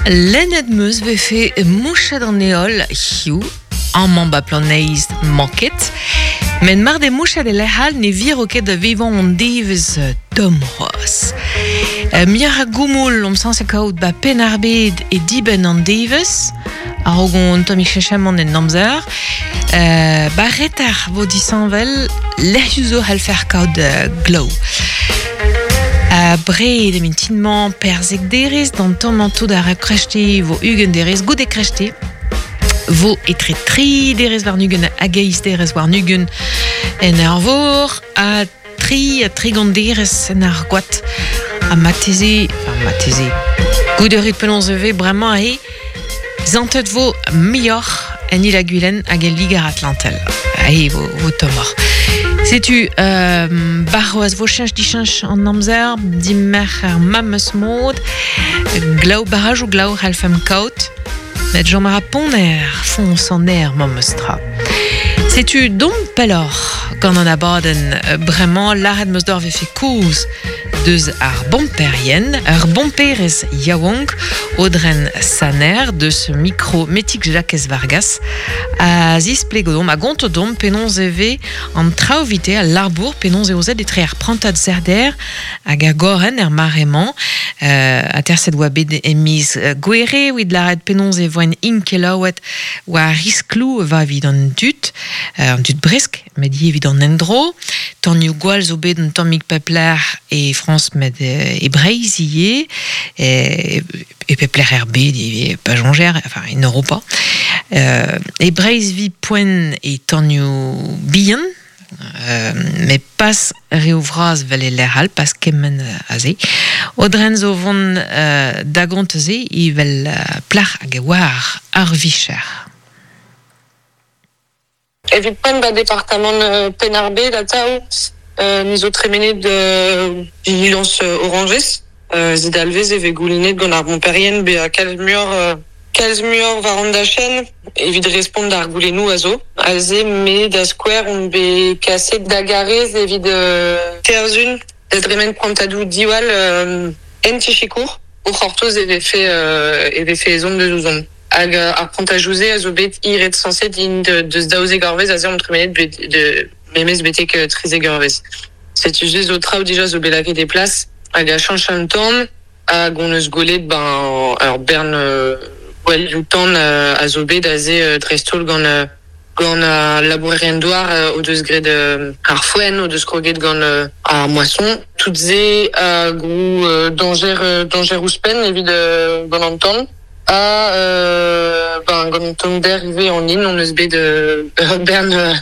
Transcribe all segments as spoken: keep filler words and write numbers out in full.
Lennet meus vefe mouchet an eol hiu, amañ ba planeiz manket, met mar de mouchet e lec'hal ne viro ket da vevañ an devezh tomm c'hoazh. Muioc'h a goumoul omp sañset kaout ba Penn-ar-Bed e dibenn an devezh, a-raok on tammig chechamant en amzer. Euh, ba reter vo disheñvel lec'hioù zo c'hallfer kaout glav. A bred e mintinmañ perzek derez d'an tommañ tout ar krechti vo ugent derez goude krechti vo etre tri derez war nugen hag eizh derez war nugen en ar vor ha tri ha tregont derez en ar gwad ha mateze, enfin mateze goude rit penaos e vez bremañ e zantet vo muioc'h en il a Gwilen hag el Liger Atlantel. Ae vo, vo tommoc'h. Setu, euh, barroaz vo cheñch dicheñch an amzer, dimerc'h ar memes mod, glav barrajoù glav c'hallfemp kaout, met chom a ra ponner foñs an aer memes tra. Setu dom pelloc'h gant an abadenn bremañ lâret meus d'or vefe kozh deus ar bomperien, ar bomperez yaouank Audren Saner deus mikro Metik Jakez Vargas a zisplegodom a gontodom penaos e vez an traoù-vite al labour penaos eo zet etre ar prantad zerder hag ar goren er mare-mañ euh, aterset oa bet e miz gwere evit lâret penaos e voen inkelaouet oa risklou va evit an dud, euh, an dud bresk, met ivez evit an endro. Tanioù gwall zo bet un tammig pepler e Frañs met e Breizh ivez, e, e pepler er bed ivez, pa soñjer, enfin en Europa. Euh, e Breizh vi poent e tanioù bihan, euh, met pas reoù vras vel e lec'h all, pas kement aze. Audren zo vont euh, da gont se evel plac'h hag e oar ar vicher. Evit poent ba departamant euh, Penn-ar-Bed atav, euh, ni zo tremenet de vigilance euh, oranges, euh, zit alvez e vez goulennet gant ar bomperien be a kalz muioc'h euh, kalz muioc'h war an dachenn evit respont d'ar goulennoù a zo. Aze me da skouer on bet kaset da garez evit euh, terzun da dremen prantadoù diwall euh, en tichikour o c'hortoz e vefe euh, e vefe ezhomm deus ouzhomp. Hag ar prantajoù-se a zo bet iret sañset int deus daouzek eurvezh aze omp tremenet bet de memez betek trizek eurvezh. Setu se zo traoù dija zo bet lakaet e plas hag a chañch an tan hag on eus gwelet ben ur bern euh, gwellioù tan euh, a zo bet aze euh, dreist-holl gant euh, gant ar labourerien douar euh, o deus graet euh, ar foenn, o deus kroget gant euh, ar moason. Tout se a grou euh, dañjer euh, dañjer ouzhpenn evit euh, gant an tan. A euh, ben gant an tommder ivez an hin on eus bet euh, ur bern euh,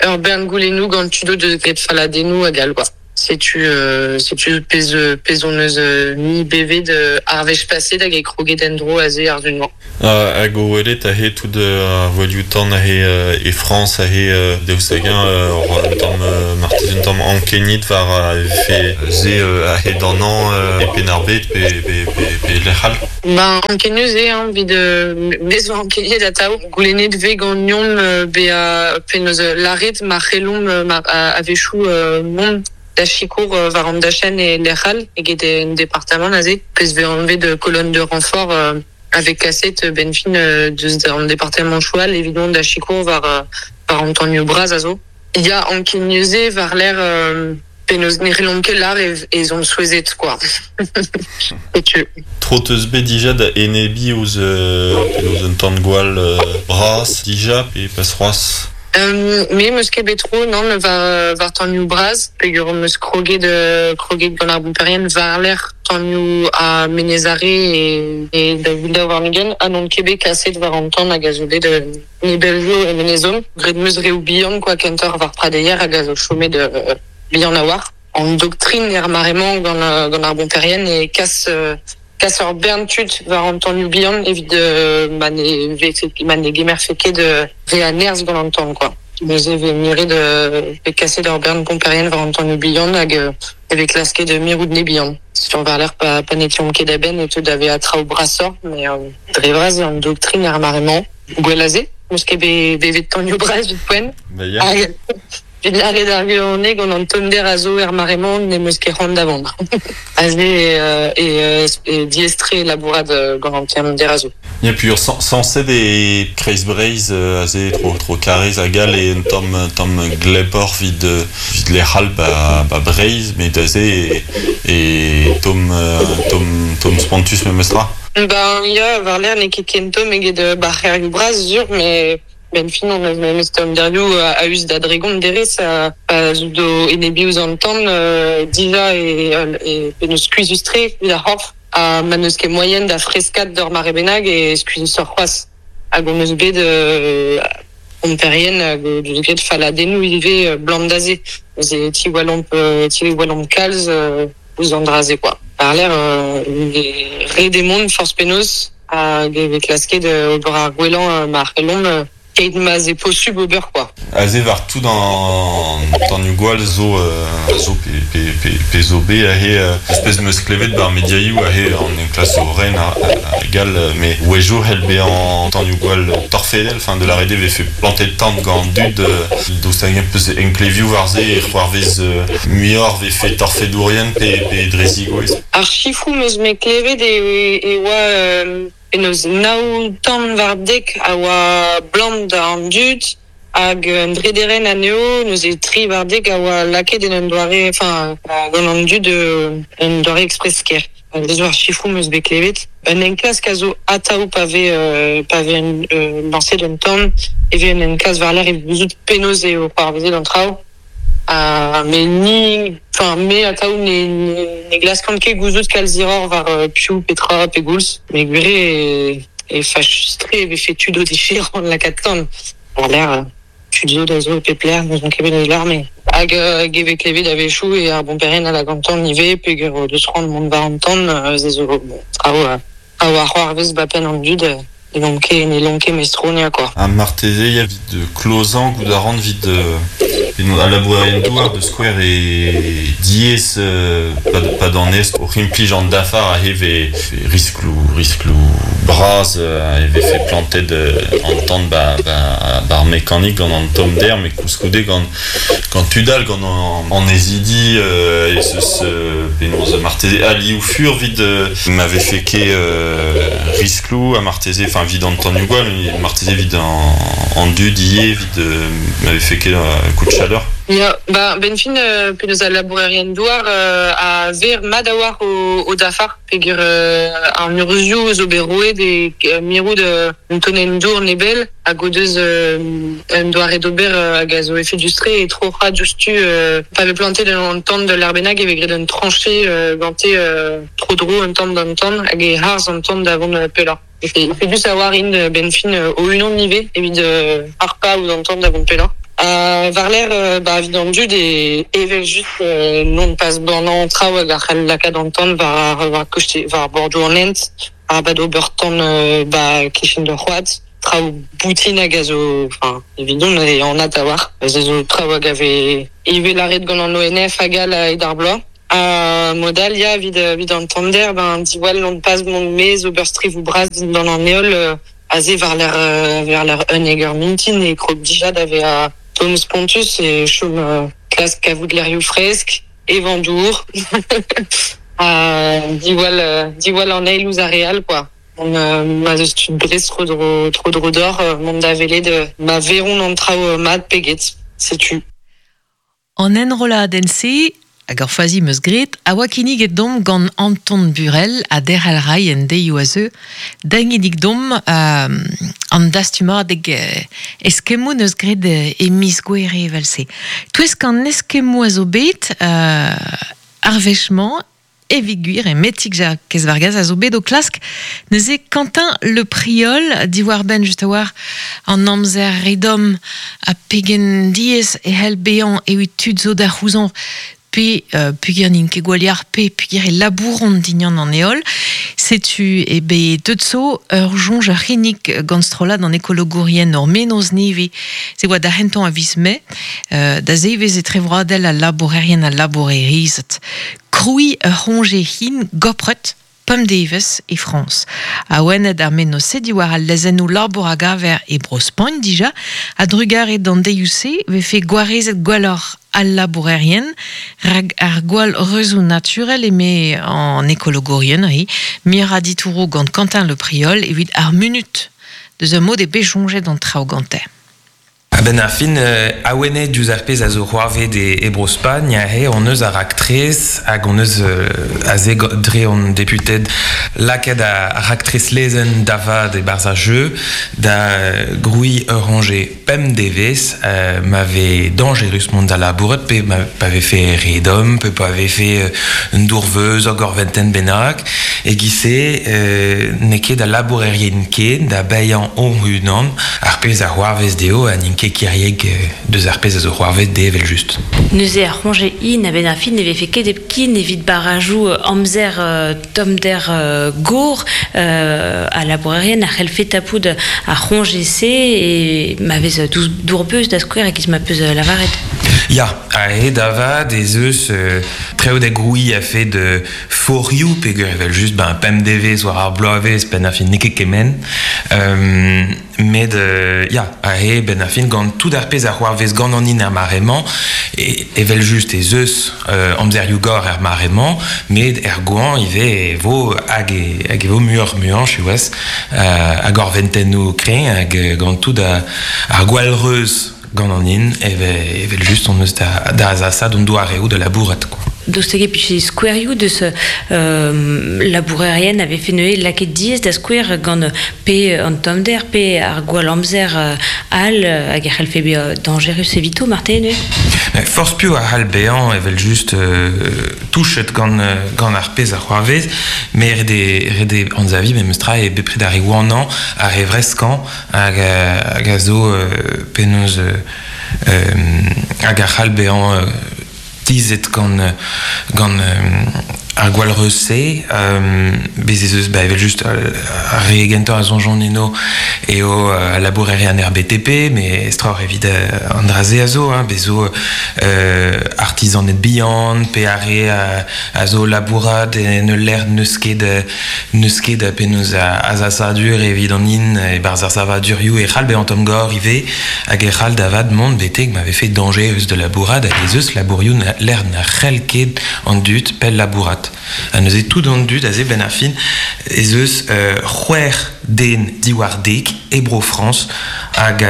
ur bern goulennoù gant tudo deus graet faladennoù hag all quoi. Setu euh, setu pezh pezh on eus euh, ni bevet euh, ar wech paset hag e kroget en-dro aze ar zun-mañ. Uh, hag o welet aze tout ar voilioù tan aze euh, e Frañs aze euh, deus hag-eñ euh, un tamm euh, marteze un tamm ankenit war euh, vefe se euh, aze d'an an euh, e Penn-ar-Bed pe, pe, pe, pe lec'h all. Ben ankenius eo hein, evit euh, me zo ankeniet atav. Goulennet vez ganeomp euh, bezañ penaos lâret ma c'hellomp euh, ma a-wechoù euh, mont da sikour euh, war an dachenn e lec'h all eget en departamant aze. Pezh vez anvet de colonne de renfort euh, avec kaset ben fin euh, deus an departamant choual evit mont da sikour war, euh, war an tanioù bras a zo. Ya ankenius eo war l'air euh, penaos ne c'hellomp ket lâr e ez omp souezhet quoi. Setu. Tro teus bet dija da enebiñ ouzh euh, penaos un tan gwall euh, bras dija pe pas c'hoazh. Euh, me meus ket bet tro, nann, war, war tanioù bras, peogwir meus kroget, euh, kroget gant ar bomperien war lec'h tanioù a Menez-Are e, e da daou warn-ugent, ha n'on ket bet kaset war an tan hag a zo bet euh, nebell zo e Menez-Hom. Graet meus reoù bihan quoi, kentoc'h war pradeier hag a zo chomet euh, bihan a-walc'h. An doktrin er mare-mañ gant, gant ar bomperien e kas euh, kas ur bern tud war an tanioù bihan evit euh, ma ne vefe ma ne gemerfe ket euh, re a nerzh gant an tan quoi. Neuze vez miret euh, vez kaset ur bern bomperien war an tanioù bihan hag euh, e vez klasket mirout ne bihan. Sur war l'air pa, pa n'etions ket a-benn e teu da vezañ traoù brasoc'h, mais euh, dre vras eo an doktrin ar mare-mañ. Gwell aze, meus ket bet bevet tanioù bras evit poent. Ba ya. Hag Vid lare d'ar gwirionez gant an tommder a zo er mare-mañ n'em eus ket c'hoant da vont. Aze e, e, e diestre labourat gant an tommder a zo. Ya puis sañset e Kreiz Breizh aze tro tro Karez hag all e un tamm tamm glepor vid vid lec'hal ba ba Breizh met aze e, e tomm tomm tomm spontus memestra. Ben ya war l'air n'eo ket ken tomm eget ba c'hêrioù bras sur mais ben fin on eus memes tomm derioù a us da dregont derez a, a zo do enebi ouzh an tan euh, dija e, e penaos skuizhus-tre evit ar c'horf ha ma n'eus ket moaien da freskat d'ur mare bennak e skuizhusoc'h c'hoazh hag on eus bet euh, pomperien hag o deus graet faladennoù ivez blam d'aze neuze tiwallomp tiwallomp kalz euh, ouzh an dra-se quoi. Par l'air euh, re demont forzh penaos hag e vez klasket ober ar gwellañ ma c'hellomp keit ma'z eo posubl ober quoi. Aze war tout an tanioù gwall zo euh, zo pe, pe, pe, pe zo bet aze euh, espèce meus klevet bar mediaioù aze an enklas zo ren a, a, gal mais wejo hell bezañ tanioù gwall torfedel fin de la rede vefe plantet tant gant dud euh, daoust hag peus enklevioù war se e c'hoarvez euh, muioc'h vefe torfedourien pe, pe drezigoez. Ar chifroù meus me klevet e, e oa euh, penaos nav tamm war dek a oa blam da an dud hag un drederen anezho neuze tri war dek a oa lakaet en un doare enfin gant an dud un doare express-ker. Deus war chifroù meus bet klevet. Un enklask a zo atav pa vez euh, pa vez euh, lañset un tamm e vez un enklask war l'air evit gouzout penaos eo c'hoarvezet an traoù. Uh, mais ni enfin me atav ne ne, ne glaskan ket gouzout kalz hiroc'h war uh, piv petra pe goulz met gwir e e fachus-tre e vefe tud o defe lakaat tan war l'air tud zo da zo e pep lec'h n'eus ket bet eus l'ar mais hag uh, hag e vez klevet a-wechoù e ar bomperien a la gantan ivez peogwir o deus c'hoant mont war an tan uh, ze zo bon traoù uh, traoù a c'hoarvez ba penn an dud uh, ne lon ket ne lon ket mestronia quoi. Ha marteze ya vid klozañ goût a ran vid a labourerien douar de skouer e diaes euh, pa, pa d'an ez o implij an dafar a heve riskloù riskloù bras euh, e vefe plantet euh, an tan ba, ba, ba ar mekanik gant an tommder met koulskoude gant gant tudal gant an, an ezidi euh, e zeus euh, penaos marteze ali ou fur vid euh, ma vefe ket euh, riskloù ha marteze enfin vid an tanioù gwall marteze vid an, an dud ivez vid euh, ma vefe ket euh, coup de chaleur. Ya, ba, ben fin euh, penaos al labourerien douar euh, a ver mat a-walc'h o, o dafar peogwir euh, an urzhioù zo bet roet e euh, mirout euh, un tonenn dour nebell hag o deus euh, un doare d'ober euh, hag a zo efedus-tre e troc'hañ diouzhtu euh, pa vez plantet an tan de l'er bennak e vez graet un tranchée euh, gante euh, tro-dro un tamm d'an tan hag e harz an tan da vont pellañ. Efedus a-walc'h int ben fin o-unan ivez evit euh, harpañ ouzh an tan da vont pellañ. Uh, war l'air euh, ba evit an dud e evel just euh, non pas bannañ traoù hag a c'hell lakaat an tan war war koste war bordoù an hent arabat ober tan euh, ba kichen d'ur c'hoad traoù boutin hag a zo enfin evidon e anat a-walc'h ze zo traoù hag a vez ivez lâret gant an O N F hag all hed ar bloaz. Uh, modal ya evit evit an tommder ben diwall non pas mont maez ober strivoù bras dindan an heol euh, aze war l'air euh, war l'air un hag ur mintin e krog dija da vezañ tomm spontus e chom euh, klask kavout lec'hioù fresk evañ dour ha diwall euh, diwall an eil ouzh ar re all quoi. Mont euh, ma zeus tud Brest tro-dro tro-dro d'or euh, mont da welet euh, ma veront an traoù mat pe get setu. An enrolladenn-se hag ur fazi meus graet a oa kinniget domp gant Anton Burel ha Derc'hel Rai en deioù a zeu dañidik domp euh, an dastumadeg euh, eskemmoù neus graet e miz Gouere evel-se. Touesk an eskemmoù a zo bet euh, ar wech-mañ evit gwir e metik Jakez Vargas a zo bet o klask neuze Quentin Le Priol diwar-benn just a-walc'h an amzer redom ha pegen diaes e c'hell bezañ evit tud zo da c'houzañv pe euh, peogwir n'int ket gwall yac'h pe peogwir e labouront dindan an heol. Setu e bet deut zo ur soñj ar c'hinnig gant strollad an ekologourien ur menoz nevez. Se oa da c'hentañ a viz Mae, euh, da zevez etrevroadel al labourerien al labourerezed. Krouiñ ur c'hoñje hin gopret pemp devezh e Frañs. Awenet ar mennozh-se diwar al lezennoù labour a gaver e Bro-Spagn dija, a drugare d'an deioù-se vefe gwarezet gwelloc'h al labourerien, rag ar gwall reuzoù naturel eme an ekologourien, hi, mira ditouro gant Quentin Le Priol evit ar munut deus ur mod e bet soñjet an traoù gante. A-benn ar fin, euh, awenet diouzh ar pezh a zo c'hoarvet e, e Bro-Spagn, aze hon eus ar raktres hag hon eus euh, aze dre hon deputed lakaet ar raktres lezenn da vat e-barzh ar jeu da grouiñ ur c'hoñje pemp devezh euh, ma vez dañjerus mont da labourat pe ma pa vefe re domm pe pa vefe euh, un dourveuz ur gorventenn bennak e giz-se euh, n'eo ket da labourerien ken da baeañ hon-unan ar pezh a c'hoarvez dezho ha n'int ket kiriek deus ar pezh a zo c'hoarvet dezhe evel just. Neuze ar c'hoñje in a-benn ar fin ne vefe ket hepken evit barrajoù amzer tommder gor a labourerien a c'hellfe tapout ar c'hoñje-se e ma vez dour-beuz da skouer e-giz ma peus lavaret. Ya, aze da vat ez eus euh, traoù da grouiñ a-fet forioù peogwir evel just ben pemp devezh war ar bloavezh benn ar fin n'eo ket kement. Euh, met euh, ya, aze benn ar fin gant tout ar pezh a c'hoarvez gant an hin er mare-mañ e, evel just ez eus euh, amzerioù gor er mare-mañ met er goañv ivez e vo hag e, hag e vo muioc'h muiañ siwazh euh, hag gorventennoù kreñv hag gant tout ar gwallreuz gant an hin evel, evel just on eus da, da azasaat hon doareoù da labourat quoi. Daoust hag e pije skouerioù deus euh, labourerien a vefe neuze lakaet diaes da skouer gant pe an tommder pe ar gwall amzer all hag e c'hellfe bezañ dañjerus evito marteze neuze? Forzh piv a c'hall bezañ evel just euh, touchet gant, gant ar pezh a c'hoarvez, met ret eo ret eo anzaviñ memestra eo bepred ar re wanañ, ar re vreskañ hag, hag a zo euh, penaos euh, hag a c'hall bezañ euh, tizhet gant, gant ar gwallreuz-se, euh, bez ez eus ba evel just ar re gentañ a soñjont eno eo uh, labourerien er B T P, met estroc'h evit uh, an dra-se a zo, hein, bez zo euh, artizaned bihan, pe ar re a, a zo labourat en ul lec'h n'eus ket, n'eus ket penaos azasadur evit an hin e-barzh ar savadurioù e c'hall bezañ tomm-gor ivez hag e c'hall da vat mont betek ma vefe dañjerus da labourat hag ez eus labourioù lec'h na c'hell ket an dud pell labourat. Ha neuze tout an dud aze benn ar fin ez eus euh, c'hwec'h den diwar dek e Bro-Frañs hag,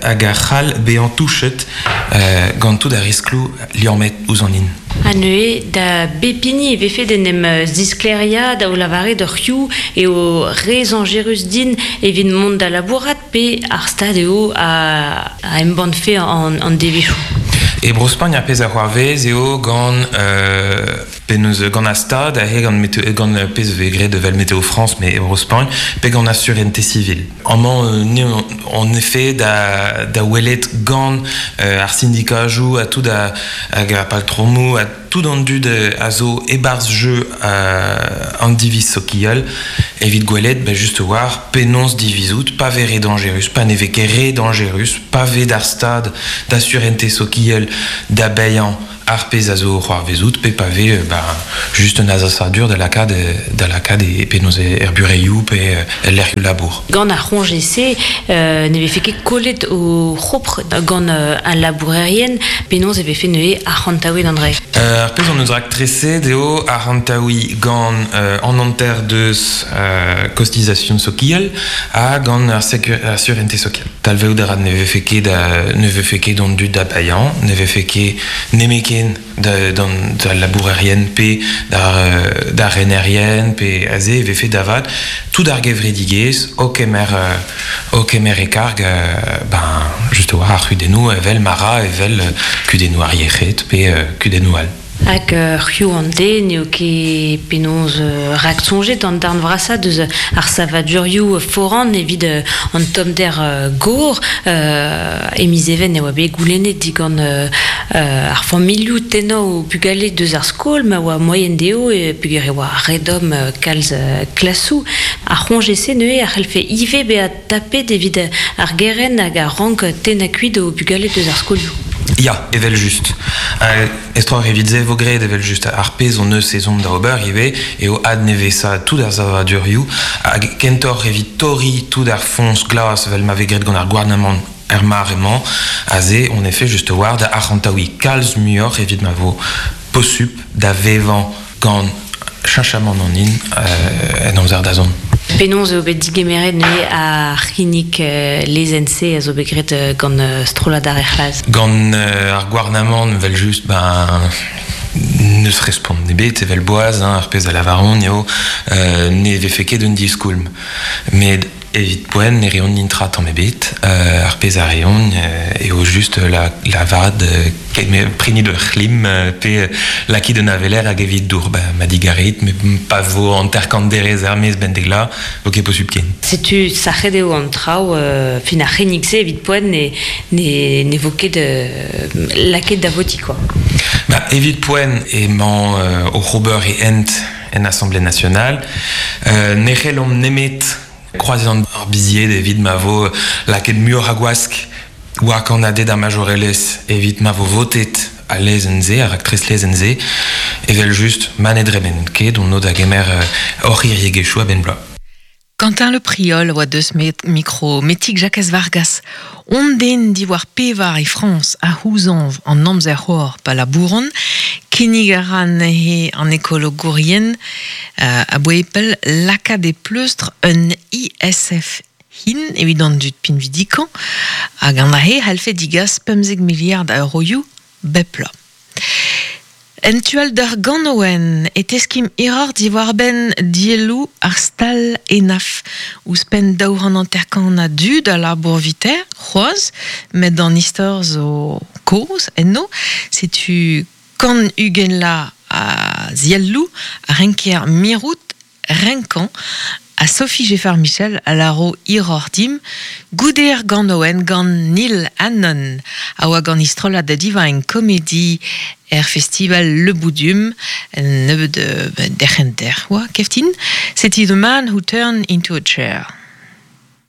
hag a c'hall bezañ touchet euh, gant tout ar riskloù liammet ouzh an hin. Ha neuze da bep hini e vefe d'en em zisklêriañ da o lavaret ur c'hioù eo re zañjerus din evit mont da labourat pe ar stad eo a, a embann-fe an, an devezhioù. E Bro-Spagn ar pezh a c'hoarvez eo gant euh, penaos gant ar stad aze gant météo, gant pezh vez graet evel Météo France mais e Bro-Spagn pe gant ar sûreté civile. Amañ ni en effet da, da welet gant euh, ar syndikajoù ha tout a, hag ar paltromoù ha tout an dud a zo e-barzh jeu euh, an diviz sokial evit gwelet ben just war penaos divizout pa vez re dañjerus pa ne vez ket re dañjerus pa vez d'ar stad da sûreté sokial da baeañ ar pezh a zo c'hoarvezout pe pa vez ben, just un azasadur da lakaat da lakaat e penaos er bureioù pe lec'hioù labour. Gant ar c'hoñje-se euh, ne vefe ket kollet o c'hopr gant euh, al labourerien penaos e vefe neuze arc'hantaouet an dra. Euh, ar pezh on eus raktreset eo arc'hantaouiñ gant euh, an hanter deus euh, kostization sokial ha gant ar sûreté sokial. Talveout a ra ne vefe ket ne vefe ket an dud da baeañ, ne vefe ket nemeken da, da, da labourerien pe da, da renerien pe aze e vefe da vat tout ar gevredigezh o kemer, o kemer e karg ben, just war ar c'hudennoù evel mara evel kudennoù ar yec'hed pe kudennoù all. Hag c'hioù an den eo ket penaos raksoñjet an darn vrasañ deus ar savadurioù foran evit an tommder gor e miz Even e oa bet goulennet digant ar familhoù tennañ o bugale deus ar skol ma oa moaien dezho e peogwir e oa re domm kalz klasoù. Ar c'hoñje-se neuze a c'hellfe ivez bezañ tapet evit ar gerent hag ar rank tennañ kuit o bugale deus ar skolioù. Ya, evel just. Uh, Estroc'h evit se vo graet evel just ar pezh on eus ezhomm da ober ivez eo adnevesa tout ar savadurioù hag kentoc'h evit torriñ tout ar foñs glas evel ma vez graet gant ar gouarnamant er mare-mañ aze on efe just war da arc'hantaouiñ kalz muioc'h evit ma vo posupl da vevañ gant cheñchamant an hin euh, en amzer da zont. Penaos eo bet digemeret neuze ar c'hinnig euh, lezenn-se a zo bet graet euh, gant euh, strollad ar C'hlaz. Gant euh, ar gouarnamant evel just ben neus respont ebet evel boaz hein, ar pezh a lavaron eo euh, ne vefe ket un diskoulm. Met evit poent ne reont nintra tamm ebet euh, ar pezh a reont euh, eo just la, la vad euh, prenit ur c'hlim euh, pe euh, lakit un aveler hag evit dour ba, ma digarit me pa vo hanter-kant derez er maez bendegla vo ket posupl ken. Setu sac'het eo an traoù euh, fin ar c'hinnig-se evit poent ne, ne, ne vo ket euh, lakaet da votiñ quoi. Ba, evit poent emañ euh, oc'h ober e hent en Assemblée nationale euh, ne c'hellomp nemet kroaziañ ar bizied evit ma vo lakaet muioc'h a gwask war kannaded ar majorelezh evit ma vo votet al lezenn-se, ar raktres lezenn-se, evel just ma ne dremen ket on o da gemer euh, hor c'hiriegezhioù a-benn bloaz. Quentin Le Priol oa deus met mikro Metig Jakez Vargas. On den diwar pevar e Frañs a c'houzañv an amzer c'hor pa labouron, kinnig a ra neuze an ekologourien euh, a boe pell lakaat e pleustr un I S F hin evit an dud pinvidikañ hag an ahe c'hallfe digas pemzek miliard a euroioù bep bloaz. En tual d'ar ganouen e teskim error diwar benn dielloù ar stal enaf ouzhpenn daou c'hant hanter-kant a dud a labour viter, c'hoazh, met an istor zo kozh enno, setu kant ugent la a zielloù a renker mirout renkañ a Sophie Geffard-Michel a laro iror dim goude ar ganouen gant Neil Hannon a oa gant istrollad da Divine Comedy er festival Le Boudum nebeud de derc'henter oa keftin. C'était The Man Who Turned Into a Chair.